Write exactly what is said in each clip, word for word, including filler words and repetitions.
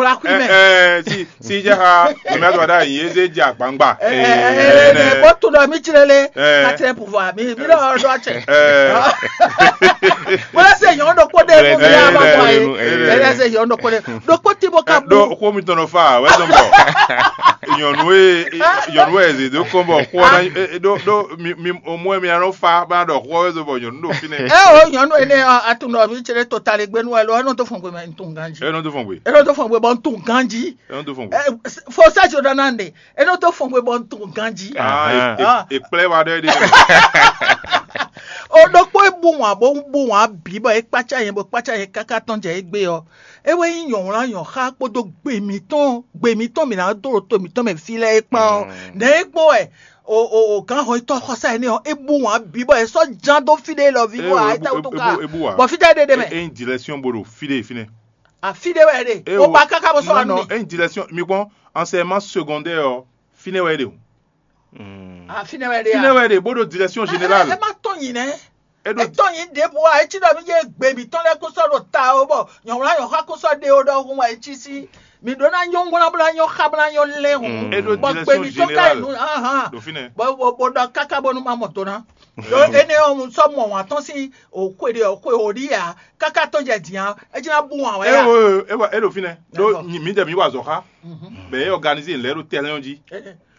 hwlá xwí mɛ. Ɛ, si si jɛ xa, mɛ to da yin eze jɛ agbangba. Ɛ, ɛ, ɛ, ɛ, ɛ, bó tún ɖɔ mí tlélé. Ɛ. Katlɛ pouvoir mi mi ɖɔ ɖɔ atsɛ. Ɛ. Wala se yɔn ɖokpó ɖe mo mi ɖe ama kɔ ye. Wala se yɔn ɖokpó ɖe ɖokpó tí mo ka bu. Ɖo xó mi tɔnɔ fa wɛ zɔn bɔ nyɔnu e nyɔnu e zi do kɔn bɔ xó na ɖo ɖo mi mi o mɔ mi anɔ fa ba ɖɔ xó wɛ zɔn bɔ nyɔnu ɖo fínɛ. Ɛ o nyɔnu ene atun ɖɔ mi tsere to tali gbenu ɛ lo ɛnɔ to fɔn gbe mɛ ntun ganji. Ɛnɔ to fɔn gbe. Ɛnɔ to fɔn gbe bɔ ntun ganji. Ɛnɔ to fɔn gbe. Fo sɛ jo dana nde. Enɔ tó fɔn xwe bɔ un tunwun ganjí. Ah, e- e- ekplɛ wa ɖɔ ɖe. O ɖokpó e bu wǎn bó bu wǎn bǐ bɔ é kpácá nyɛ bó kpácá nyɛ káká tɔn jɛ égbé ɔ́, é wɛ nyí nyɔ̌wlán nyɔ̌xá kpódó gbe mǐtɔn gbe mǐtɔn mǐ ná dó ɖo to mǐtɔn mɛ fí lɛ́ɛ é kpán ɔ́. Nɛ̌ é kpɔ́n wɛ o o o gǎn hɔnyitɔ́ xɔsá énɛ́ ɔ́ é bu wǎn bǐ bɔ é sɔ́ ján dó fí ɖé lɔ ví bó a é ta wútu ká bɔ fí tɛ́ ɖé ɖé mɛ. E yin direction bo ɖo fí ɖé fínɛ́. Afi ɖé wɛ ɖe. O ba káká bó sɔ́ wá nú mi. E yin direction mi kpɔ́n enseignement secondaire ɔ́ fínɛ́ wɛ é ɖe o. Afi nɛ wɛ ɖe. Fínɛ́ wɛ é ɖe bó ɖo direction générale. Ɛ má tɔn nyi nɛ. É ɖo. Etɔn nyi ɖěbǔ a etí ɖɔ mí yé gbe mǐtɔn lɛ́ɛ kún sɔ́ ɖo ta ó bɔ nyɔ̌wlá nyɔ̌xá kún sɔ́ ɖe ó ɖɔhun wɛ etí sí. Mǐ ɖó ná nyɔ́ ŋwlá bó ná nyɔ́ xá bó ná nyɔ́ lɛ́ hǔn. É ɖo bɔ gbe direction mǐtɔn ka générale. Nǔ hán. Ɖo fínɛ́. Bɔ bɔ bɔ ɖɔ káká bónú má mɔ do ná. Ɖó énɛ́ ɔ́ un sɔ́ mɔ wǎn tɔn sín òxwe ɖe òxwe òɖí ǎ káká tɔn jɛ dǐn á é jí ná bú wǎn wɛ É á. Wo é wa é ɖo fínɛ́. Ɖó D'accord. Mǐdɛɛ mǐ wa azɔ̌ xá. Bɛ é organiser lɛ̌ ɖo terrain ɔ́ jí.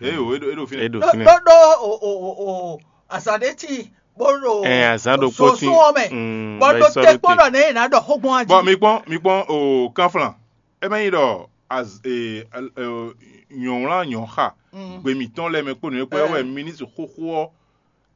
É wo é ɖo é ɖo fínɛ́. É ɖo Ɖó fínɛ́. Ɖó ɖó o o o o azǎn ɖé tíin bó ɖo Ɛ azǎn ɖokpó tíin. Sosún ɔ́ mɛ Mm, bɔ bɛ ɖo sɔ́ te ɖó kpɔ́n te. Ɖɔ nɛ̌ yě ná ɖɔ xógbɔn jí. Bɔn mi kpɔ́n mi kpɔ́n o kánflán. É má nyí ɖɔ az e e- nyɔ̌wlán nyɔ̌xa Mm. Gbe mǐtɔn lɛ́ɛ mɛ kpó nǔ e kpó é wɛ Ɛ. Ministre xóxó ɔ́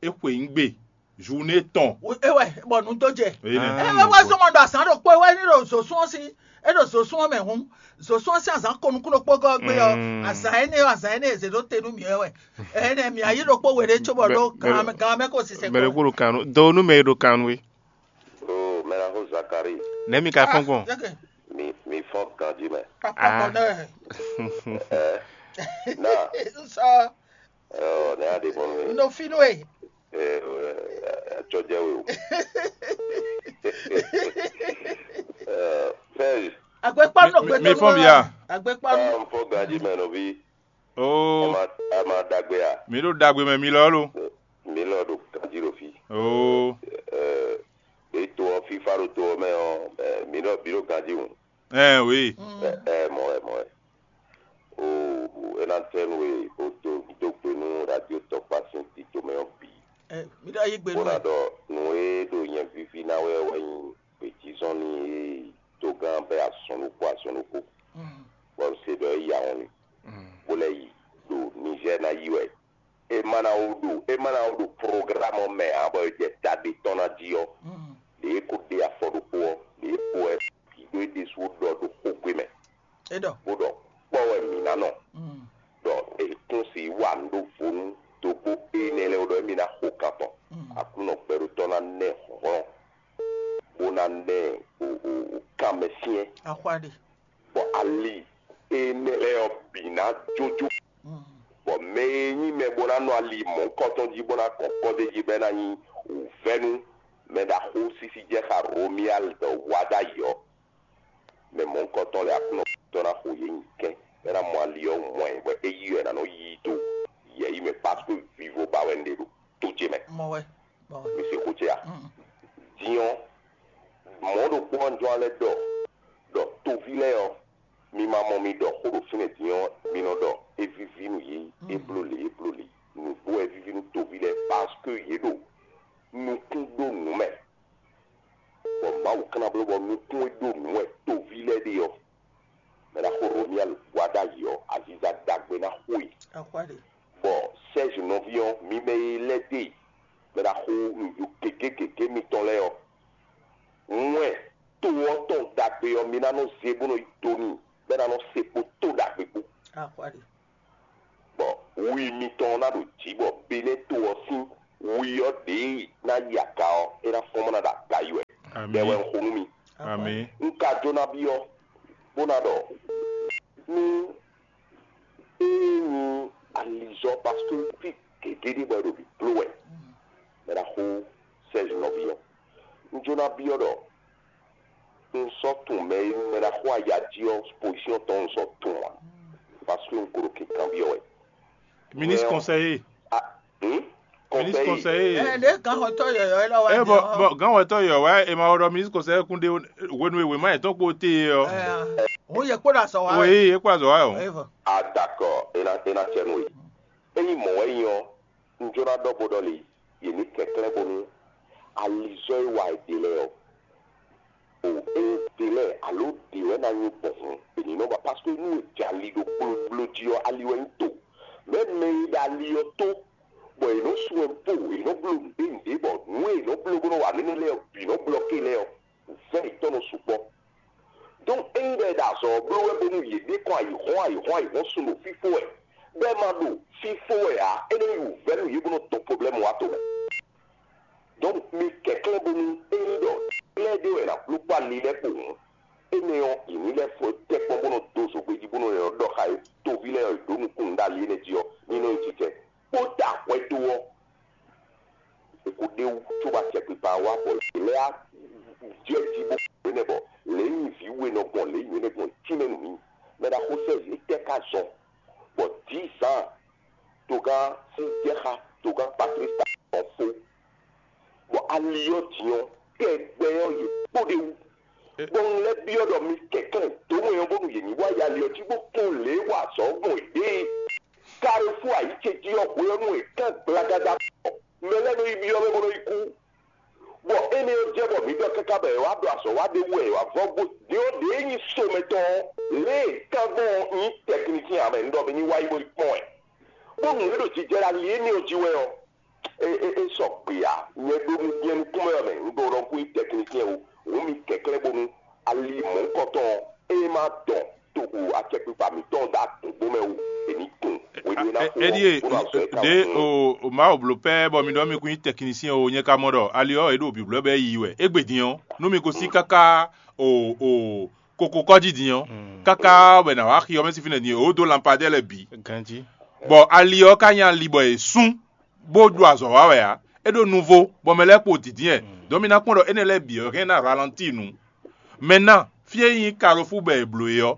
é xwe nyí gbe journée tɔn. Ewɛ bɔ nu dó jɛ. Èyí nɛ. Ah. Ewɛ wɛ zɔmɔ ɖo azǎn ɖo kpó wɛ ní ɖo zosún ɔ́ sí é ɖo zosún ɔ́ mɛ hǔn zosún ɔ́ sí azǎn ko nukún ɖokpó gɔ́ gbé ɔ́ Mm. Azǎn énɛ́ ɔ́ azǎn énɛ́ e zě ɖó te nú mǐ wɛ wɛ. Ɛnɛ mǐ ayí ɖokpó we ɖé cóbɔ Mɛ- ɖó mɛ- gan mɛ kó sisɛ mɛ ɖé kó ɖo kan nú do nú mɛ e ɖo kan nú é. Oh, mɛ na xó Zakari, Nɛ̌ mi ka fɔ́n gbɔn? Mi mi fɔn ganji mɛ. Papa Ah. Bɔnɛ. Eh, na, Nsɔ oh, ne a de bɔn mi. Nɔ fi nú e. Eh, eh, eh, tsɔjɛ we o. Eh, fɛn, Agbekpa nɔ Mi- mi- gbɛtɔ mi fɔn mi ya. Agbekpa nɔ. Ah, n fɔ ganji mɛ nɔvi. Oh, Ama ama dagbe a. Mi ɖo dagbe mɛ mi lɔ lo. Mi lɔ ɖo ganji ɖo fi. Oh, Eh, be to ɔ fifa ɖo to ɔ mɛ ɔ, eh, mi lɔ bi ɖo ganji ŋu. Eh, oui. Ɛ ɛ mɔ wɛ mɔ wɛ. O ena tɛnu e o do do gbe nú radio tɔkpa sín tito mɛ ɔ bǐ. Ɛ mi ɖo ayi gbe nú Bó ná ɛ. Ɖɔ nǔ e ɖo nyɛ vivi ná wɛ wɛ nyí gbějízɔ́n ní e togán bɛ́ azɔn ɖokpó azɔn ɖokpó. Bɔ un se ɖɔ é yi ahɔn mì, bó lɛ́ yi ɖo Nizɛ́ɛ ná yi wɛ. É má ná wó ɖo é má ná wó ɖo programme ɔ́ mɛ ǎ bɔ è jɛ ta ɖé tɔn ná jí ɔ́, ɖě é ko ɖe afɔ ɖokpó ɔ́, ɖě é ko wɛ bǐ ɖó é ɖésú ɖɔ ɖo xógbé mɛ, É ɖɔ. Bó ɖɔ kpɔ́ wɛ mǐ ná nɔ, ɖɔ è kún si wa nǔ ɖo vo nú dógbó énɛ́ lɛ́ɛ wú ɖɔ émí ná xo kan tɔn. Aklúnɔ gbɛɖótɔ́ ná ná ɛ hlɔ̌nhlɔ́n, bó ná ná ɛ o o o kanmɛ syɛ́n, Axwa ɖe. Bɔ ali énɛ́ lɛ́ɛ ɔ́ bǐ ná jójó, bɔ mɛ e nyí mɛ bó ná nɔ ali mɔ̌hunkɔtɔn jí bó ná kɔn kɔ́ d'é jí bɔ é ná nyí wǔvɛ́ nú mɛ ɖaxó sísí jɛ xa Romuald wá ɖ'ayǐ ɔ́, mɛ mɔ̌hunkɔtɔn lɛ́ɛ Aklúnɔ tɔn ná xo yě nyi kɛ́n, bɔ é ná mɔ ali ɔ́ mɔ ɛ, bɔ é yí wɛ è nǎ nɔ yí i dó yɛ̌yi mɛ, parce que vivo ba wɛ un ɖe ɖo tó ce mɛ. Mɔ wɛ. Bɔ Mi se xó ce a? Mm. Din ɔ́, mɔ̌ ɖokpó ɔ́ jɔ́n lɛ́ ɖɔ ɖɔ toví lɛ́ɛ ɔ́, mi ma mɔ mi ɖɔ xó ɖo fínɛ́ din ɔ́, mi nɔ ɖɔ é víví nú yě, é bló lě, é bló lě. Nǔgbó wɛ víví nú toví lɛ́ɛ, parce que yě ɖo nukún ɖó nǔ mɛ, bɔ Mawu ka ná bló bɔ nukún e ɖó nǔ wɛ toví lɛ́ɛ ɖe ɔ́, mɛ ná xo Romuald wá ɖ'ayǐ ɔ́, aziza ɖagbe ná xo e. Axwa ɖe. Bɔ Serge nɔví ɔ́, mi mɛ e lɛ́ dó e, mɛ ná xo nǔɖuɖu gěgé gěgé mitɔn lɛ́ɛ ɔ́, wɛn to ɔ́ tɔn ɖagbe ɔ́, mi ná nɔ zé bó nɔ yi do n'i, bɔ é ná nɔ se kpó to ɖagbe kpó. Axwa ɖe. Bɔ wi mitɔn ɔ́ ná ɖo jǐ, bɔ Benɛ́ to ɔ́ sín Wi ɔ́ ɖě ná yi aga ɔ́, é ná fɔ́n bó ná ɖo aga yi wɛ. Bɛ́ wɛ un xo nú mi. Amǐ. Un ka jló ná byɔ́ bó ná ɖɔ nú ée nyí alizɔ́, parce que fí gěgé ɖé bɔ è ɖo bǐ bló wɛ. Mɛ ná xo sɛ́zi nɔví ɔ́. Un jló ná byɔ́ ɖɔ un sɔ́ tunwun mɛ e mɛ ná xo aya jí ɔ́, pozísyɔn tɔn un sɔ́ tunwun ǎ, parce que un ko ɖo kǐnkanbyɔ́ wɛ. Ministre conseiller. Ah, hmm? Ministre Conseiller. Conseiller. Ɛ ɖe gǎn xɔtɔ́ yɔyɔ́ élɔ́ wá. Ɛ bɔ bɔ gǎn xɔtɔ́ yɔyɔ́ wá e ma ɖɔ ministre conseiller kún ɖe hwenu e wěma yětɔn kpo te ɔ́. Ɛ, òun yě kpó ɖo azɔ̌ wa wɛ. Oui, é kpó azɔ̌ wa o. Ɛ vɔ. Ah, d'accord, é ná é ná cɛ nú we. Ényí mɔ̌ wɛ nyí ɔ́, un jló ná ɖɔ bó ɖɔ lě, yě ní kɛnklɛ́n bónú alizɔ́ e wa è ɖe lɛ́ɛ ɔ́, o é ɖe lɛ́ɛ alo ɖě wɛ ná nyí gbɔn hǔn, è ní nɔ ba, parce que nú è jɛ ali ɖo gblogbló jí ɔ́, ali wɛ nyí to. Mɛ̌ mɛ e ɖo ali ɔ́ tó, bɔ è nɔ sú ɛnpo, è nɔ bló nǔɖé nǔɖé, bɔ nǔ e è nɔ bló bó nɔ wa nɛnɛ lɛ́ɛ ɔ́ bǐ nɔ blɔ́ ké lɛ́ɛ ɔ́, vɛ̌ yětɔn nɔ sukpɔ́. Donc ényí ɖɔ è ɖo azɔ̌ ɔ́ bló wɛ bónú yě ɖe kɔn ayǐhɔ́n ayǐhɔ́n ayǐhɔ́n sun ɖo fífó wɛ, bɔ è ma ɖo fífó wɛ ǎ, é nɔ nyi wǔvɛ́ nú yě bó nɔ dɔn problème wá to mɛ. Donc mi kɛnklɛ́n bónú ényí ɖɔ lɛ́ɛ ɖé wɛ è nǎ bló kpó ali lɛ́ɛ kpo hǔn, énɛ́ ɔ́, yě ní lɛ́ fɔ tɛ́nkpɔ́n bó nɔ dó zǒgbé jí bó nɔ lɛ́ ɖɔ xá yě, toví lɛ́ɛ ɔ́, yě ɖǒ nukúnnú ɖó ali énɛ́ jí ɔ́, ní nɔ nyi jijɛ. Kpó ta hwɛ dó ɔ́, è ko ɖ'é wú cóbɔ acɛkpikpa ɔ́ wá bɔ yě lɛ́ á jɛ jí bó xwé nɛ́ bɔ lě e nyí vǐ we nɔ gbɔn lě nyǐ énɛ́ gbɔn tínmɛ nú mì. Mɛ ɖaxó sɛ́ yě tɛ́ ká zɔn, bɔ dǐ zǎn togán sín jɛ xá togán Patlísta ɔ́ fó, bɔ ali ɔ́ din ɔ́, tɛgbɛ ɔ́ yě kpó ɖ'é wú. Bɔ un lɛ́ byɔ́ ɖɔ mi kɛnklɛ́n dǒ wɛn ɔ́ bónú yě ní wá yi ali ɔ́ jí bó kpɔ́n lě e wa azɔ̌ gbɔn yěɖée. Kalifú ayǐ ce jí ɔ́ hwenu e kán gblagáda mɛ lɛ́ɛ nɔ yi byɔ́ mɛ bó nɔ yi kú. Bɔ énɛ́ ɔ́ jɛ bɔ mǐ ɖɔ káká bɔ è wá ɖo azɔ̌ wa ɖé wú wɛ è wǎ vɔ́ gbó din ɔ́ ɖě nyí somɛtɔn ɔ́, lě e kán gbɔn ɔ́ nyí tɛknikyɛn ǎ mɛ, un ɖɔ mi ní wá yi bó yi kpɔ́n ɛ. Bónú é ɖo jijɛ ɖo ali énɛ́ ɔ́ jí wɛ ɔ́, é é é sɔ gbe ǎ. Nyɛ ɖó nú nyɛ nukúnmɛ ɔ́ mɛ, un ɖo ɖɔ kú nyí tɛknikyɛn o, hǔn mi kɛnklɛ́n bónú ali mɔ̌hunkɔtɔn ɔ́, é má dɔn toxo acɛkpikpa mǐtɔn ɖó agbǒgbó mɛ o, è ní tunwun hwenu e ná xo ɔ́, Eɖíe bó ná sɔ́ ɛ ká ɖě wú. O Mawu bló pɛ́ bɔ mi ɖɔ mi kún nyí tɛknisyɛn o, nyɛ ka mɔ ɖɔ ali ɔ́, è ɖo bǐblɔ́ bɔ é yi wɛ. Égbé din ɔ́, nú mi ko sí káká o o koko kɔ́ jí din ɔ́, káká bɔ è nǎ wá xi ɔ́ mɛ sín fínɛ́ din, o dó lanpadɛ́ lɛ́ɛ bǐ. Ganjí. Bɔ ali ɔ́ ka nyí ali bɔ è sún bó ɖo azɔ̌ wa wɛ ǎ. É ɖo nuvo, bɔ mɛ lɛ́ɛ kpo dǐndín ɛ. Dɔn mi ná kpɔ́n ɖɔ énɛ́ lɛ́ɛ bǐ ɔ́ hɛn ná ralantíi nu. Mɛ ná, fí e nyí Kalofú bɔ è blǒ é ɔ́,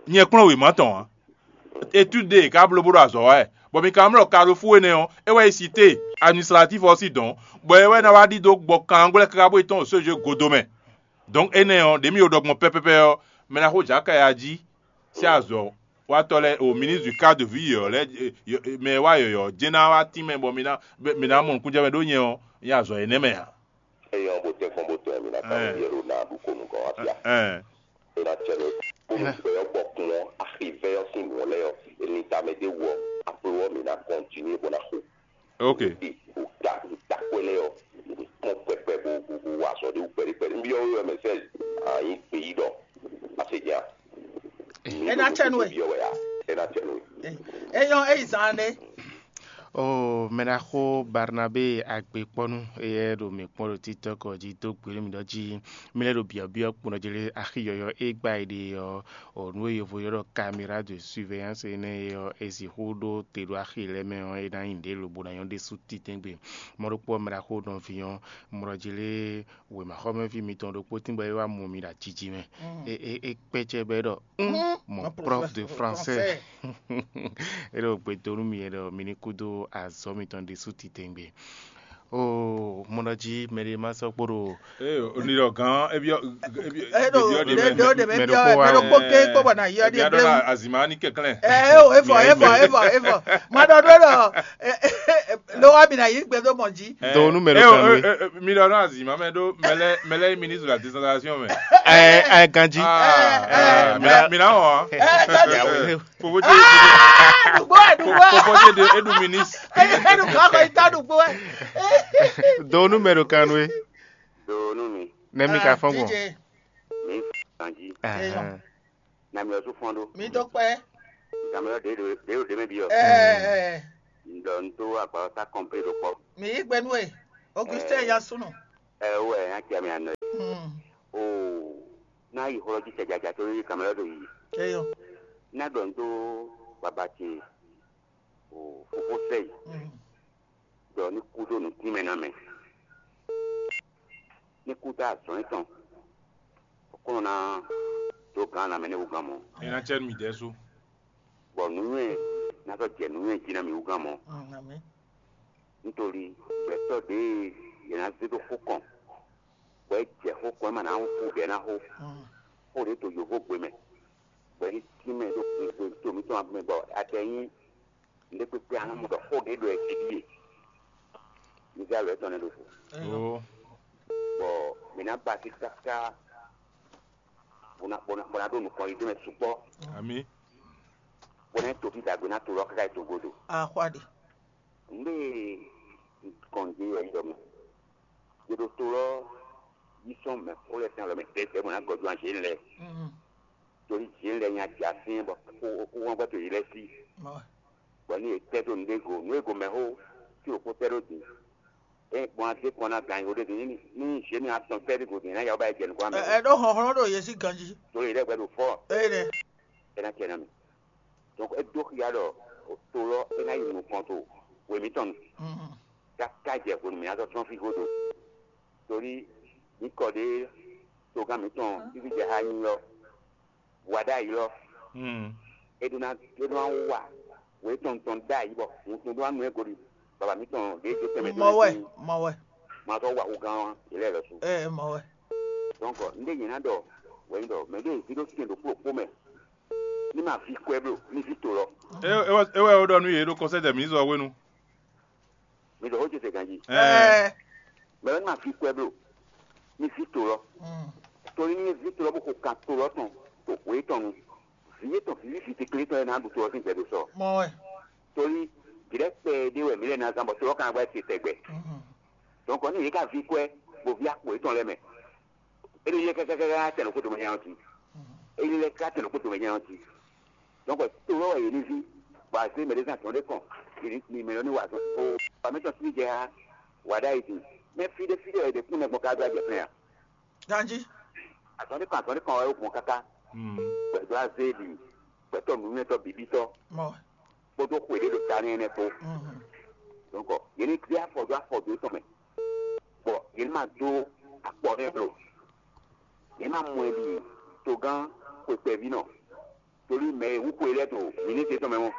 nyɛ kplɔ́n wěma tɔn ǎ. Etúde è ka bló bó ɖo azɔ̌ wa wɛ, bɔ mi ka mlɔ́ Kalofú énɛ́ ɔ́, é wɛ nyí sité administratif ɔ́ sín dɔ̌n, bɔ é wɛ ná wá ɖidó gbɔ kanlangwlɛ́ káká bó yi tɔ́n ɖo sójé godo mɛ. Donc énɛ́ ɔ́, ɖě mi ɖo ɖɔ gbɔn pɛ́pɛ́pɛ́ ɔ́, mɛ ná xo jǎ kaya jí sín azɔ̌ watɔ́ lɛ́ɛ o ministre du cadre de vie yɔ̌yɔ́ lɛ́ɛ, mɛ e wá yɔ̌yɔ́ jɛ́n ná wá tínmɛ bɔ mi ná mi ná mɔ nukúnjɛmɛ ɖó nyɛ ɔ́, nyɛ azɔ̌ énɛ́ mɛ ǎ. Eyɔ́ bó tɛ́nkpɔ́n bó tɔn ɛ, mi ná ka Ɛɛ. Byɔ́ ɖo ná ɖu ko nukɔn wá fia. Ɛɛ. É ná cɛ nú bónú gbɛ ɔ́ gbɔ kún ɔ́, axivɛ́ ɔ́ sín nǔ ɔ́ lɛ́ɛ ɔ́, è lin tamɛ ɖé wú ɔ́, apo ɔ́ mǐ ná kɔntinué bó ná xo. Ok. Ɖi ɖo ta ɖo takwɛ lɛ́ɛ ɔ́, mǐ ní kpɔ́n kpɛkpɛ bó bó bó wa azɔ̌ ɖé wú kpɛɖé kpɛɖé. Un byɔ́ we wɛ mɛ sɛ́ a nyǐ gbeyíɖɔ. Asejǎ. É ná cɛ nú we. Byɔ́ wɛ a, é ná cɛ nú we. Eyɔ́ é yi zaan ɖé. O mɛɖaxó Barnabé Agbekpɔnu, eyɛ ɖo mǐ kpɔ́n ɖo TikTok jí dó gbe nú mǐ ɖɔ jí mí lɛ́ ɖo byɔ̌byɔ́ kpɔ́n jí lé axi yɔ̌yɔ́ e gbá yi ɖe ɔ́, o nǔ e yovo ylɔ́ ɖɔ caméra de surveillance énɛ́ é ɔ́, è sixú ɖó te ɖo axi lɛ́ɛ mɛ ɔ́, é ná nyí nǔɖé lobo ná nyɔ́ ɖésú titɛ́ngbé. Mɔ ɖokpó ɔ́, mɛɖaxó nɔví ɔ́, mɔ ɖɔ jí lé wěmaxɔmɛví mitɔn ɖokpó tín bɔ é wá mɔ mi ɖo ajiji mɛ. É é é kpɛ́ cɛ bɔ é ɖɔ: "Hum, mon prof de français." É ɖo gbe dó nú mi, é ɖɔ mi ní kúdó azɔ̌ mitɔn ɖésú titɛngbé. Oo, mɔ ɖɔ jí mɛɖé má sɔ́ kpo ɖo. Ee, o ní ɖɔ gán, é byɔ́, é byɔ́, é ɖo ɖe ɖe ɖe mɛ byɔ́ mɛ ɖokpó ké kpó bɔ na yɔ ɖe ɖe. Azima ní kɛnklɛn. Ɛ o, efɔ efɔ efɔ efɔ. Ma ɖɔ ɖo ɖɔ ló wá mi na yí gbɛ dó mɔ jí. Dɔwɔnu mɛ ɖo kan wé. Mi ɖɔ nɔ azima mɛ ɖo mɛlɛ mɛlɛ ministre de la décentralisation mɛ. Ɛ ɛ ganji. Mina hɔn. Popo je de edu ministre. Edu kɔkɔ ita dugbo wɛ. Dɔwɔnu mɛ ɖo kan wé. Dɔwɔnu mi. Nɛ mi ka fɔn gbɔn. Mi ganji. Nami ɔ́ sú fɔ́n ɖó. Mi dó kpɛ́. Nami ɔ́ ɖě ɖě ɖě mɛ byɔ́. Ɛɛ. Un ɖɔ un dó agbawɔsá kɔnplé ɖo kpɔ́. Mǐ yí gbe nú we, Augustin Yasunu. Ɛ wɛ, nya ce mi anɔ. Hmm. O ná yi xlɔ́ jí sɛjaja tó yi kamɛ lɔ ɖo yi. Eyɔ. Ná ɖɔ un dó baba ce o fofó sɛ yi. Hmm. Ɖɔ ní kú ɖó nǔ tínmɛ ná mɛ. Ní kú tá azɔn étɔn. Kɔnɔ ná dó gán ná mɛ ní wú gán mɔ. É ná cɛ nú mì dɛ́ sú. Bɔ nǔnywɛ́ ná sɔ́ jɛ nǔnywɛ́ jí ná mì wú gán mɔ. Amǐn. Nítorí gbɛtɔ́ ɖě yě ná zé ɖó xó kɔn, bɔ é jɛ xó kɔn é ma ná kú bɛ́ ná xó. Xó ɖě to yǒhógbe mɛ, bɔ é cí mɛ ɖó kúgbe to mǐtɔn mɛ bɔ adɛ nyí nǔɖé kpékpé a nɔ mɔ ɖɔ xó ɖě ɖo ɛ́ jí ɖíe. Mi zé alɔ étɔn nɛ́ ɖo fo. Ó, Bɔ mǐ ná ba sí káká bó ná bó ná bó ná ɖó nukɔn yi dó mɛ sukpɔ́, amǐ. Bó ná to fí ɖagbe ná to lɔ káká yi togodo. Axwá ɖe. Nǔɖé kɔn dé wɛ ɖɔ mɛ. Yě ɖo to lɔ yí sɔn mɛ xó lɛ́ɛ sín alɔ mɛ tɛ́tɛ́ bó ná gɔ́ dó anjě lɛ́ɛ. Torí jǐ lɛ́ɛ nya jǎ sín bɔ kó kó wángbɛ́ to yě lɛ́ɛ sí. Bɔ ní yě tɛ́ dó nǔɖé go, nǔ e go mɛ xó tí wǒ kó tɛ́ ɖó din. É gbɔn adé kɔn ná gǎn yǒ ɖé din ní ní zě mi atɔn tɛ́ ɖé go din ná yǎ wó ba yi jɛ nukɔn mɛ. Ɛ ɖó hlɔ̌nhlɔ́n ɖo yě sín ganjí. Torí yě ɖɛ́ gbɛ ɖo fɔ́. Ée nɛ. É ná cɛ ná mi. Donc é dó xia ɖɔ to lɔ é ná yi nukɔn to hwe mǐtɔn nu. Káká jɛ hwenu mǐ ná sɔ́ trɔ́n fí godo. Torí mǐ kɔ ɖě togán mǐtɔn fífí jɛ xá nyí ɔ́, wa ɖ'ayǐ lɔ. É ɖó ná é ɖó ná wa wě tɔn tɔn ɖ'ayǐ bɔ wuntun ɖó ná nu ɛ godi baba mǐtɔn ɖě jó tɛnmɛ mɔ wɛ mɔ wɛ. Ma sɔ́ wa wú gán ɔ́ yě lɛ́ lɔ sú. Ɛ mɔ wɛ. Donc un ɖe nyě ná ɖɔ wɛ nyí ɖɔ mɛ ɖé ví ɖó tɛn ɖo kplɔ́kpó mɛ ní ma ví kwɛ́ bló ní ví to lɔ. É wɛ é wɛ ó ɖɔ nú yě ɖo kɔsɛ́dɛ mǐ zɔ hwenu. Mi ɖɔ xó ce se ganjí. Ɛɛ. Mɛ lɔ ní ma ví kwɛ́ bló ní ví to lɔ. Torí ní ví to lɔ bó xo kan to lɔ tɔn to hwě tɔn nu. Vǐ yětɔn vǐví vǐ kékeré tɔn lɛ́ɛ ná ɖu to ɔ́ sín gbɛɖosɔ. Mɔ wɛ. Torí vǐɖɛkpɛ ɖé wɛ mǐ lɛ́ ná zán bɔ to ɔ́ ka ná gbɛ́ te tɛgbɛ. Donc ní yě ká ví kwɛ́ bó ví akpo yětɔn lɛ́ɛ mɛ. É ɖo yɛ kákákáká tɛn ɖo kótó mɛ nyanya ɔ́ jí. É ɖo lɛ ká tɛn ɖo kótó mɛ nyanya ɔ́ jí. Donc to lɔ wɛ yě ní ví, bɔ azé mɛ ɖé zán tɔn ɖé kɔn, yě ní mi mɛ lɔ ní wa azɔn. O ba mɛ tɔn sí jɛ ha, wa ɖ'ayǐ din. Mɛ fí ɖé fí ɖé wɛ yě ɖe kún nɛ gbɔn ká dó ajɛ fɛn a? Ganjí. Azɔn ɖé kɔn azɔn ɖé kɔn wɛ ó gbɔn káká. Gbɛtɔ́ azé ɖi, gbɛtɔ́ nǔnywɛ́tɔ́ bǐbítɔ́. Mɔ. Kpódó xwe ɖé ɖo ta n'i nɛ́ kpó. Donc yě ní gbé afɔ dó afɔ dó tɔn mɛ, bɔ yě ní ma dó akpɔ nɛ́ blo. Yě ma mɔ ɛ ɖi togán xwe kpɛví nɔ, torí mɛ e wú xwe lɛ́ɛ ɖo mǐnísí tɔn mɛ mɔ.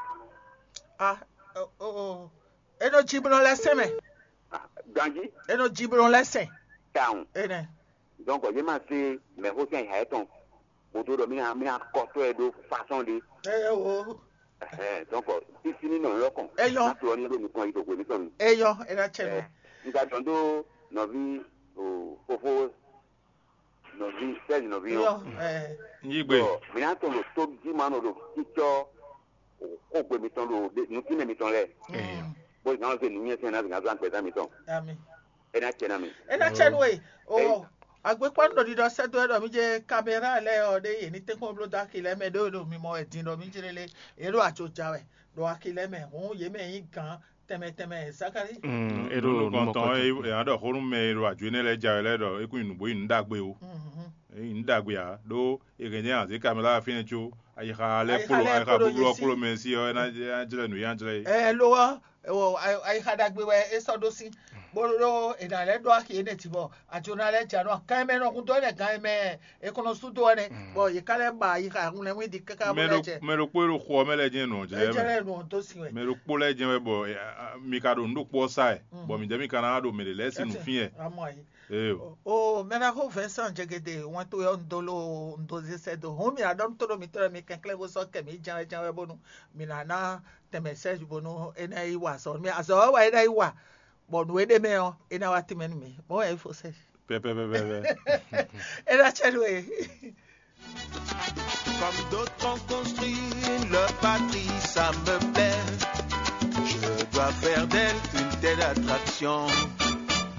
Ah, oh, oh, oh. Eno jiblɔ lɛ sɛn mɛ. Ganjí. Eno jiblɔ lɛ sɛn. Tawun. Enɛ. Donc yě ma se mɛxó sín ayixa yětɔn bó dó ɖɔ mí ná mí ná kɔ tó ɛ ɖó façon ɖé. Ɛ o. Ɛhɛn, donc sísí ní nɔ lɔkàn. Eyɔ. Má to ɔ ní ɖo nukɔn yi ɖo hwe mítɔn nu. Eyɔ, ena tsɛ nɔ. Ɛ, un ka dɔn dó nɔví o fofó nɔví sɛzi nɔví ɔ. Eyɔ. Ɛ. Yí gbe. Bɔ mí ná tɔn ɖo tó jí ma nɔ ɖo kítsɔ xógbe mítɔn ɖo nukínɛ mítɔn lɛ. Bó zan ɔ́ se nǔnywɛ́ sɛn ná zǐngán zɔ́ agbɛ̌zán mítɔn. Ami. É ná cɛ ná mi. É ná cɛ nú we. O agbekpɔ́nú ɖo ɖiɖɔ sɛ́ dó wɛ ɖɔ mí jɛ kamera lɛ́ɛ ɔ́ ɖé yě ní tɛ́nkpɔ́n bló dó aki lɛ́ɛ mɛ ɖó ɖo mimɔ wɛ din ɖɔ mí jlé lé. Yě ɖo ajo ja wɛ ɖo aki lɛ́ɛ mɛ hǔn yě mɛ nyí gǎn tɛnmɛ tɛnmɛ Zakalíi. Mm, é ɖo nukɔntɔn ɛ ɛ ɖɔ xó nú mɛ e ɖo ajo énɛ́ lɛ́ɛ ja wɛ lɛ́ɛ ɖɔ é kún nyi nǔgbó nyi nǔ ɖagbe o. Mhm. É nyi nǔ ɖagbe ǎ ɖó è hɛn jɛ azě kamera fínɛ́ có ayixa lɛ́ɛ Ayixa kpló lɛ́ɛ ayixa kpló búblú ɔ́ Yesí. Kpló mɛ sí ɔ́ é ná é ná jlɛ́ nǔ é ná jlɛ́ é. Ɛ lo ɔ́, ewɔ ayixa ɖagbe wɛ é sɔ́ ɖó sí bó ɖó è nǎ lɛ́ ɖó axi énɛ́ jí bɔ ajona lɛ́ ja nɔ kan mɛ nɔ hun dó ɛnɛ gan mɛ è kɔn nɔ sú dó ɛnɛ bɔ yě ká lɛ́ ba ayixa hun lɛ́ wín di káká bó mɛ lɛ́ ɖo jɛ mɛ ɖokpó e ɖo xɔ ɔ́ mɛ lɛ́ɛ jɛ́n nɔ jlɛ́ é mɛ jɛ lɛ́ nɔ tó sí wɛ. Mɛ ɖokpó lɛ́ɛ jɛ́n wɛ bɔ eh, ah, ah, mi ka ɖo nǔ ɖokpó ɔ́ sa ɛ bɔ mi jɛ mi ka ná ɖo mɛ ɖě lɛ́ɛ sín nǔ fín ɛ. Amɔ ayi. Eo. O mɛ ná xó Vincent jɛgɛdɛ wɛn tó yɔ un dó lo un dó zé sɛ́ dó hɔn mi ná ɖɔ nú tó ɖo mi tɔ́ mi kɛnklɛ́n bó sɔ́ kɛ mi jɛ́n wɛ jɛ́n wɛ bónú mi ná ná tɛnmɛ sɛ́ bónú é ná yi wa azɔ̌ mi azɔ̌ wɛ é ná yi wa bɔ nǔ e ɖ'é mɛ ɔ́ é ná wá tɛnmɛ nú mi mɔ̌ wɛ é fo sɛ́. Pɛpɛpɛpɛ. É ná cɛ nú e. Comme d'autres ont construit leur patrie, ça me plaît. Je dois faire d'elle une telle attraction.